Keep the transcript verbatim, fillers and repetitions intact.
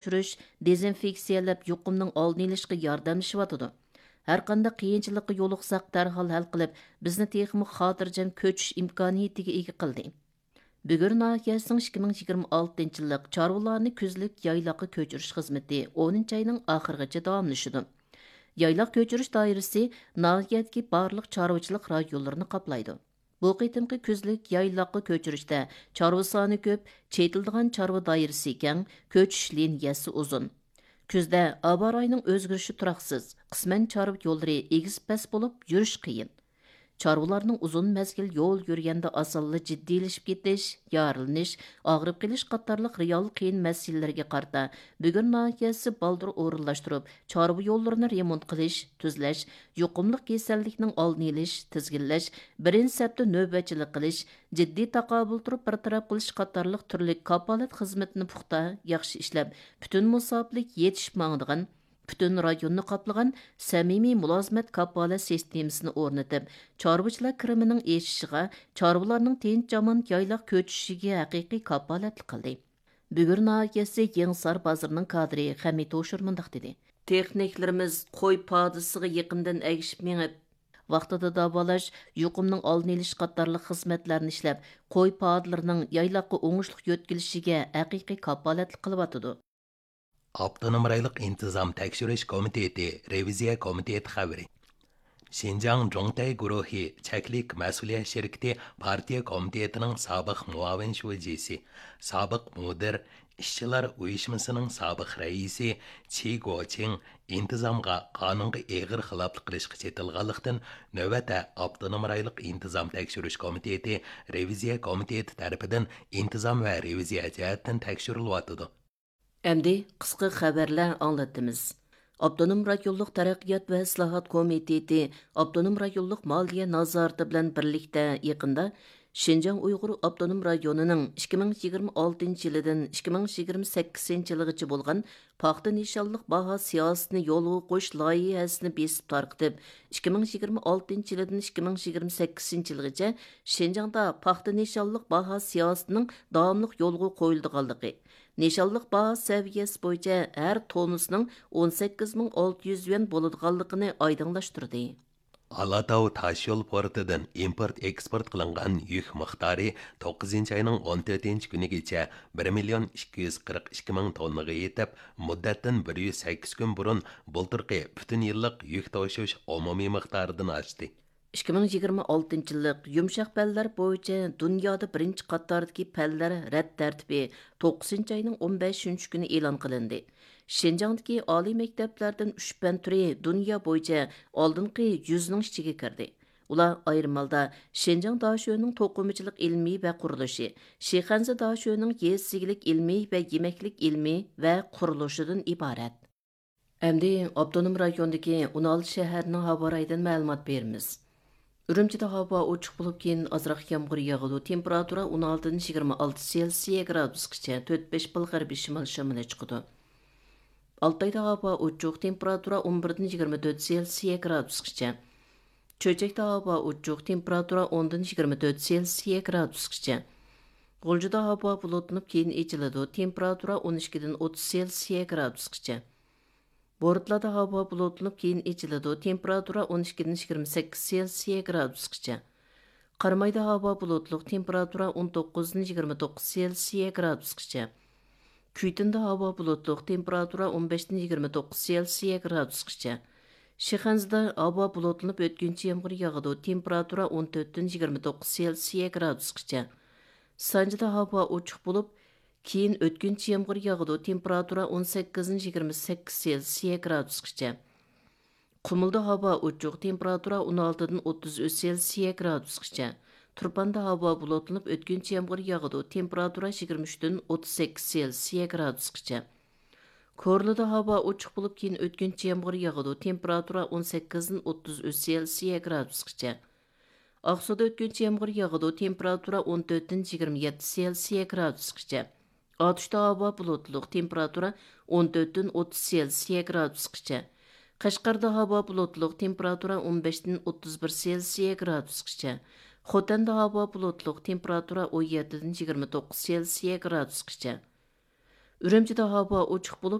تەكشۈرۈش، دېزىنفېكسىيەلەپ، يۇقۇمنىڭ ئالدىنى ئېلىشقا ياردەملىشىۋاتىدۇ. ھەرقانداق قىيىنچىلىققا يولۇقساق، دەرھال ھەل قىلىپ، بىزنى تېخىمۇ خاتىرجەم كۆچۈش ئىمكانىيىتىگە ئىگە قىلدى. بۈگۈر ناھىيەسىنىڭ ئىككى مىڭ يىگىرمە ئالتىنچى يىللىق چارۋىلارنى كۈزلۈك يايلاققا كۆچۈرۈش خىزمىتى ئونىنچى ئاينىڭ ئاخىرىغىچە داۋاملىشىدۇ. يايلاق كۆچۈرۈش دائىرىسى ناھىيەدىكى بارلىق چارۋىچىلىق رايونلىرىنى قاپلايدۇ. بۇ قېتىمقى كۈزلۈك يايلاققا كۆچۈرۈشتە چارۋا سانى كۆپ، چېتىلىدىغان چارۋا دائىرىسى كەڭ، كۆچۈش لىنىيەسى ئۇزۇن. كۈزدە ھاۋا رايىنىڭ ئۆزگىرىشى تۇراقسىز، قىسمەن چارۋا يوللىرى ئېگىز پەس بولۇپ، يۈرۈش قىيىن. چارۋىلارنىڭ ئۇزۇن مەزگىل يول يۈرگەندە ئاسانلا جىددىيلىشىپ كېتىش، يارىلىنىش، ئاغرىپ قېلىش قاتارلىق رېئال قىيىن مەسىلىلەرگە قارىتا، بۈگۈر ناھىيەسى بالدۇر ئورۇنلاشتۇرۇپ، چارۋا يوللىرىنى رېمونت قىلىش، تۈزلەش، يۇقۇملۇق كېسەللىكنىڭ ئالدىنى ئېلىش، تىزگىنلەش، بىرىنچى سەپتە نۆۋەتچىلىك قىلىش، جىددىي تاقابىل تۇرۇپ بىر تەرەپ قىلىش قاتارلىق تۈرلۈك كاپالەت خىزمىتىنى پۇختا، ياخشى ئىشلەپ، پۈتۈن مۇساپىلىك يېتىشىپ ماڭىدىغان، پۈتۈن رايوننى قاپلىغان سەمىمىي مۇلازىمەت كاپالەت سىستېمىسىنى ئورنىتىپ، چارۋىچىلار كىرىمىنىڭ ئېشىشىغا، چارۋىلارنىڭ تىنچ-ئامان يايلاق كۆچۈشىگە ھەقىقىي كاپالەتلىك قىلدى. بۈگۈر ناھىيەسى يېڭىسار بازىرىنىڭ كادىرى خەمىت ھوشۇر مۇنداق دېدى: تېخنىكلىرىمىز قوي پادىسىغا يېقىندىن ئەگىشىپ مېڭىپ، ۋاقتىدا داۋالاش، يۇقۇمنىڭ ئالدىنى ئېلىش قاتارلىق خىزمەتلەرنى ئىشلەپ، قوي پادىلىرىنىڭ يايلاققا ئوڭۇشلۇق يۆتكىلىشىگە ھەقىقىي كاپالەتلىك قىلىۋاتىدۇ. ئاپتونوم رايونلۇق ئىنتىزام تەكشۈرۈش كومىتېتى رېۋىزىيە كومىتېتى خەۋىرى. شىنجاڭ جۇڭتەي گۇرۇھى چەكلىك مەسئۇلىيەت شىركىتى پارتىيە كومىتېتىنىڭ سابىق مۇئاۋىن شۇجىسى، سابىق مۇدىر، ئىشچىلار ئۇيۇشمىسىنىڭ سابىق رەئىسى چى گوچىڭ ئىنتىزامغا، قانۇنغا ئېغىر خىلاپلىق قىلىشقا چېتىلغانلىقتىن، نۆۋەتتە ئاپتونوم رايونلۇق ئىنتىزام تەكشۈرۈش كومىتېتى رېۋىزىيە كومىتېتى تەرىپىدىن ئىنتىزام ۋە رېۋىزىيە جەھەتتىن تەكشۈرۈلۈۋاتىدۇ. ئەمدى قىسقا خەۋەرلەر ئاڭلىتىمىز. ئاپتونوم رايونلۇق تەرەققىيات ۋە ئىسلاھات كومىتېتى ئاپتونوم رايونلۇق مالىيە نازارىتى بىلەن بىرلىكتە يېقىندا شىنجاڭ ئۇيغۇر ئاپتونوم رايونىنىڭ ئىككى مىڭ يىگىرمە ئالتىنچى يىلىدىن ئىككى مىڭ يىگىرمە سەككىزىنچى يىلىغىچە بولغان پاختا نىشانلىق باھا سىياسىتىنى يولغا قويۇش لايىھەسىنى بېسىپ تارقىتىپ، ئىككى مىڭ يىگىرمە ئالتىنچى يىلىدىن ئىككى مىڭ يىگىرمە سەككىزىنچى يىلغىچە شىنجاڭدا پاختا نىشانلىق باھا سىياسىتىنىڭ داۋاملىق يولغا قويۇلىدىغانلىقى، نىشانلىق باھا سەۋىيەسى بويىچە ھەر توننىسىنىڭ ئون سەككىز مىڭ ئالتە يۈز يۈەن بولىدىغانلىقىنى ئايدىڭلاشتۇردى. ئالاتاۋ تاشيول پورتىدىن ئىمپورت ئېكسپورت قىلىنغان يۈك مىقدارى توققۇزىنچى ئاينىڭ ئون تۆتىنچى كۈنىگىچە بىر مىليون ئىككى يۈز قىرىق ئىككى مىڭ توننىغا يېتىپ، مۇددەتتىن بىر يۈز سەككىز كۈن بۇرۇن بۇلتۇرقى پۈتۈن يىللىق يۈك توشۇش ئومۇمىي مىقدارىدىن ئاشتى. ئىككى مىڭ يىگىرمە ئالتىنچى يىللىق يۇمشاق پەنلەر بويىچە دۇنيادا بىرىنچى قاتاردىكى پەنلەر رەت تەرتىپى توققۇزىنچى ئاينىڭ ئون بەشىنچى كۈنى ئېلان قىلىندى. شىنجاڭدىكى ئالىي مەكتەپلەردىن ئۈچ پەن تۈرى دۇنيا بويىچە ئالدىنقى يۈزنىڭ ئىچىگە كىردى. ئۇلار ئايرىم ھالدا شىنجاڭ داشۆنىڭ توقۇمىچىلىق ئىلمىي ۋە قۇرۇلۇشى، شىخەنزە داشۆنىڭ يېزا ئىگىلىك ئىلمىي ۋە يېمەكلىك ئىلمىي ۋە قۇرۇلۇشىدىن ئىبارەت. ئەمدى ئاپتونوم رايوندىكى ئون ئالتە شەھەرنىڭ ھاۋا رايىدىن مەلۇمات بېرىمىز. ئۈرۈمچىدە ھاۋا ئوچۇق بولۇپ، كېيىن ئازراق يامغۇر ياغىدۇ. تېمپېراتۇرا ئون ئالتىدىن يىگىرمە ئالتە سېلسىيە گرادۇسقىچە، تۆت بەش بال غەربىي شىمال شامىلى چىقىدۇ. ئالتايدا ھاۋا ئوچۇق، تېمپېراتۇرا ئون بىردىن يىگىرمە تۆت سېلسىيە گرادۇسقىچە. چۆچەكتە ھاۋا ئوچۇق، تېمپېراتۇرا ئوندىن يىگىرمە تۆت سېلسىيە گرادۇسقىچە. غۇلجىدا ھاۋا بۇلۇتلىنىپ، كېيىن ئېچىلىدۇ، تېمپېراتۇرا ئون ئىككىدىن ئوتتۇز سېلسىيە گرادۇسقىچە. بورتلادا ھاۋا بۇلۇتلىنىپ، كېيىن ئېچىلىدۇ، تېمپېراتۇرا ئون ئىككىدىن يىگىرمە سەككىز سېلسىيە گرادۇسقىچە. قارامايدا ھاۋا بۇلۇتلۇق، تېمپېراتۇرا ئون توققۇزدىن يىگىرمە توققۇز سېلسىيە گرادۇسقىچە. كۈيتۈندە ھاۋا بۇلۇتلۇق، تېمپېراتۇرا ئون بەشتىن يىگىرمە توققۇز سېلسىيە گرادۇسقىچە. شىخەنزىدە ھاۋا بۇلۇتلىنىپ، ئۆتكۈنچى يامغۇر ياغىدۇ، تېمپېراتۇرا ئون تۆتتىن يىگىرمە توققۇز سېلسىيە گرادۇسقىچە. سانجىدا ھاۋا ئوچۇق بولۇپ، كېيىن ئۆتكۈنچى يامغۇر ياغىدۇ، تېمپېراتۇرا ئون سەككىزدىن يىگىرمە سەككىز سېلسىيە گرادۇسقىچە. قۇمۇلدا ھاۋا ئوچۇق، تېمپېراتۇرا ئون ئالتىدىن ئوتتۇز ئۈچ سېلسىيە گرادۇسقىچە. تۇرپاندا ھاۋا بۇلۇتلىنىپ، ئۆتكۈنچى يامغۇر ياغىدۇ، تېمپېراتۇرا يىگىرمە ئۈچتىن ئوتتۇز سەككىز سېلسىيە گرادۇسقىچە. كورلىدا ھاۋا ئوچۇق بولۇپ، كېيىن ئۆتكۈنچى يامغۇر ياغىدۇ، تېمپېراتۇرا ئون سەككىزدىن ئوتتۇز ئۈچ سېلسىيە گرادۇسقىچە. ئاقسۇدا ئۆتكۈنچى يامغۇر ياغىدۇ، تېمپېراتۇرا ئون تۆتتىن يىگىرمە يەتتە سېلسىيە گرادۇسقىچە. ئاتۇشتا ھاۋا بۇلۇتلۇق، تېمپېراتۇرا ئون تۆتتىن ئوتتۇز سېلسىيە گرادۇسقىچە. قەشقەردە ھاۋا بۇلۇتلۇق، تېمپېراتۇرا ئون بەشتىن ئوتتۇز بىر سېلسىيە گرادۇسقىچە. خوتەندە ھاۋا بۇلۇتلۇق، تېمپېراتۇرا ئون يەتتىدىن يىگىرمە توققۇز سېلسىيە گرادۇسقىچە. ئۈرۈمچىدە ھاۋا ئوچۇق بولۇپ،